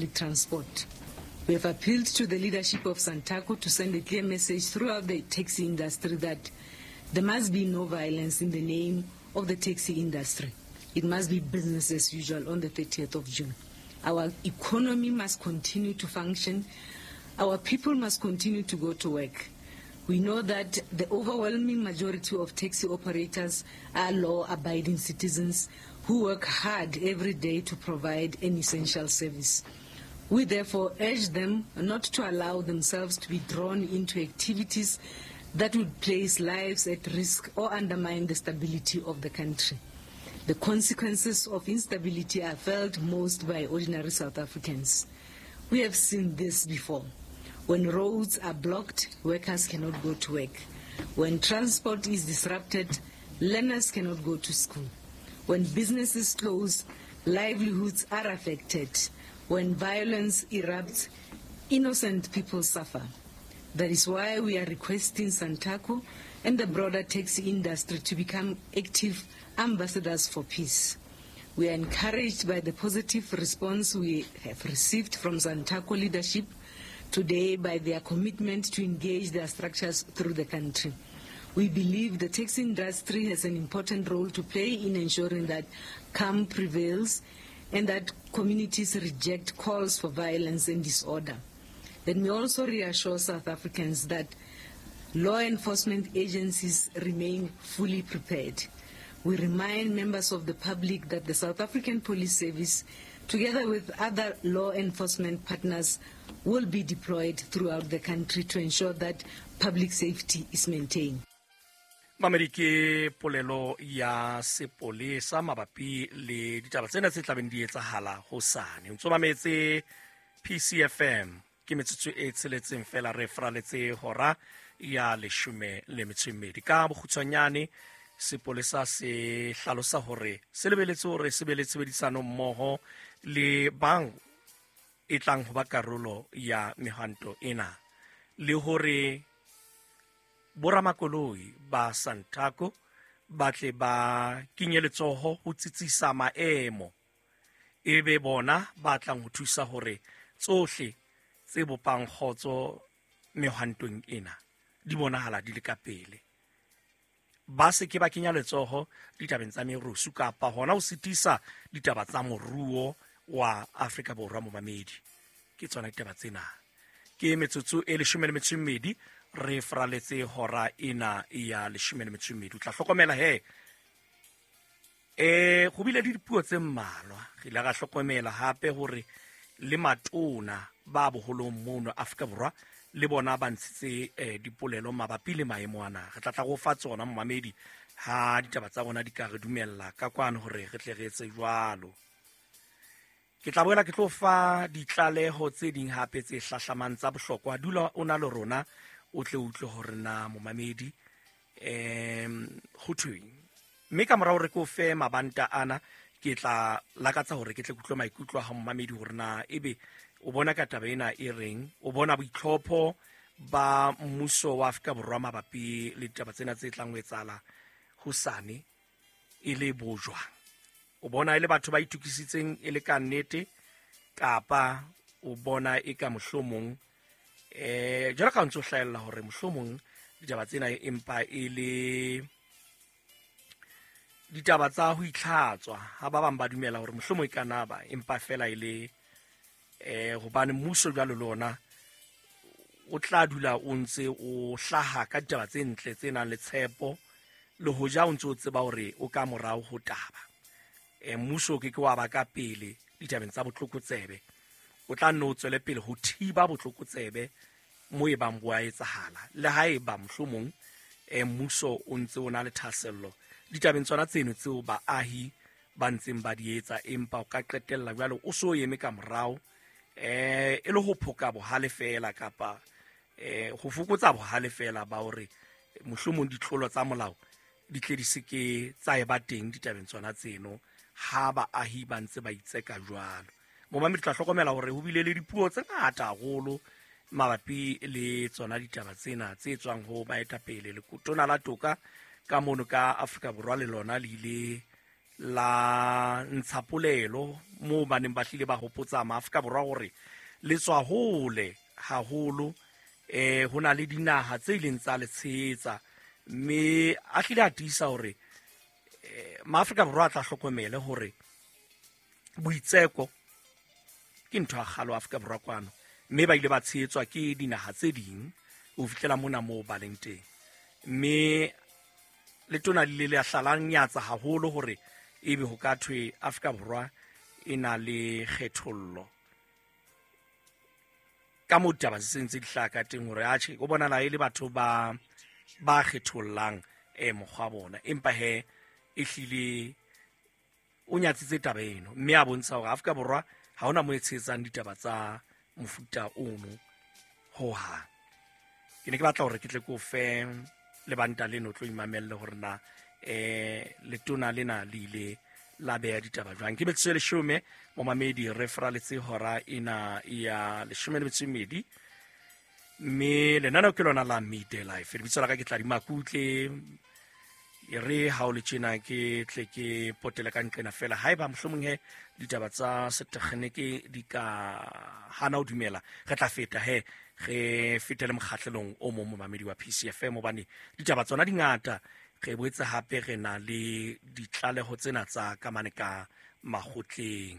Transport. We have appealed to the leadership of Santaco to send a clear message throughout the taxi industry that there must be no violence in the name of the taxi industry. It must be business as usual on the 30th of June. Our economy must continue to function. Our people must continue to go to work. We know that the overwhelming majority of taxi operators are law-abiding citizens who work hard every day to provide an essential service. We therefore urge them not to allow themselves to be drawn into activities that would place lives at risk or undermine the stability of the country. The consequences of instability are felt most by ordinary South Africans. We have seen this before. When roads are blocked, workers cannot go to work. When transport is disrupted, learners cannot go to school. When businesses close, livelihoods are affected. When violence erupts, innocent people suffer. That is why we are requesting Santaco and the broader taxi industry to become active ambassadors for peace. We are encouraged by the positive response we have received from Santaco leadership today by their commitment to engage their structures through the country. We believe the taxi industry has an important role to play in ensuring that calm prevails and that communities reject calls for violence and disorder. Let me also reassure South Africans that law enforcement agencies remain fully prepared. We remind members of the public that the South African Police Service, together with other law enforcement partners, will be deployed throughout the country to ensure that public safety is maintained. Mamedi, ke polelo ya sepolesa mabapi le ditaba tsena tse tlabeng di etsahala hosane. O ntso mametse PCFM, ke metsotso e tsheletseng fela re fraletse hora ya 12. Ka bokgutshwanyane, sepolesa se hlalosa hore se lebeletse hore se be le tshebedisano mmoho le bang e tlang ho ba karolo ya mehwanto ena, le hore boramakoloi ba Santaco ba tle ba kenye letsoho ho tsitsisa maemo, e be bona ba tlang ho thusa hore tsohle tse bopang kgotso mehwantong ena di bonahala di le ka pele. Ba se ke ba kenya letsoho ditabeng tsa merusu kapa hona ho sitisa ditaba tsa moruo wa Afrika Borwa. Momamedi, ke tsona ditaba tsena. Ke metsotso e 12 re fraletse hora ena ya 12. O tla hlokomela he go bile le dipuo tse mmalwa. Re ile ra hlokomela hape hore le matona ba boholong mono Afrika Borwa le bona ba ntshitse dipolelo mabapi le maemo ana. Re tla tla go fa tsona momamedi ha ditaba tsa rona di ka re dumella ka kwano hore re tle re etse jwalo. Ke tla boela ke tlo fa ditlaleho tse ding hape tse hlahlamang tsa bohlokwa. Dula o na le rona o tle utlwe hore na momamedi ho thweng. Mme ka morao re ko fe mabanta ana, ke tla lakatsa hore ke tle ke utlwe maikutlo a ha momamedi hore na ebe o bona ka taba ena e reng, o bona boitlhopho ba mmuso wa Afrika Borwa mabapi le ditaba tsena tse tlang ho etsahala hosane e le bo jwang. O bona e le batho ba itokisitseng e le ka nnete, kapa o bona e ka mohlomong jwalo ka ntse o hlahella hore mohlomong ditaba tsena empa e le ditaba tsa ho itlhatswa, ha ba bang ba dumela hore mohlomong e ka na ba empa fela e le hobane mmuso jwalo le ona o tla dula o ntse o hlaha ka ditaba tse ntle tse nang le tshepo, le hoja o ntse o tseba hore o ka morao ho taba. Mmuso o ke ke wa ba ka pele ditabeng tsa botlokotsebe, o tla nne o tswele pele ho thiba botlokotsebe mo e bang bo a etsahala, le ha e ba mohlomong mmuso o ntse o na le thahasello ditabeng tsona tseno tseo baahi ba ntseng ba di etsa, empa o ka qetella jwale o so eme ka morao e le ho phoka bohale fela kapa ho fokotsa bohale fela ba hore mohlomong ditlolo tsa molao di tle di se ke tsa eba teng ditabeng tsona tseno ha baahi ba ntse ba itseka jwalo. Momamedi, tla hlokomela hore ho bile le dipuo tse ngata haholo mabapi le tsona ditaba tsena tse tswang ho baetapele. Lekotona la toka ka mono ka Afrika Borwa le lona le ile La ntsha polelo moo ba neng ba hlile ba hopotsa maAfrika Borwa hore le tswa hole haholo, ho na le dinaha tse ileng tsa le tshehetsa, mme a hlile a tiisa hore maAfrika Borwa a tla hlokomele hore boitseko ke ntho ya kgalo Afrika Borwa kwano, mme ba ile ba tshehetswa ke dinaha tse ding ho fihlela mona moo ba leng teng. Mme letona le ile la hlala nyatsa haholo hore ebe ho ka thwe Afrika Borwa e na le kgethollo ka moo ditaba se sentse di hlaha ka teng, hore atjhe o bonala e le batho ba kgethollang mokgwa bona, empa he e hlile o nyatsitse taba eno, mme a bontsha hore Afrika Borwa ha hona mo e tshehetsang ditaba tsa mofuta ono hohang. Ke ne ke batla hore ke tle ke o fe lebanta leno tlo imamelle hore na letona lena le ile la beha ditaba jwang. Ke metsotso e 10 momamedi, re fraletse hora ena ya 12, mme lenaneo ke lona la Midday Life. Lebitso la ka ke Tladi Makutle. E re ha o le tjena ke tle ke potele ka nqena fela, haeba mohlomong he ditaba tsa setekgeniki di ka hana ho dumela, re tla feta he re fetele mokgahlelong o mong momamedi wa PCFM, hobane ditaba tsona di ngata. Re boetse hape re na le ditlaleho tsena tsa kamane ka makgotleng.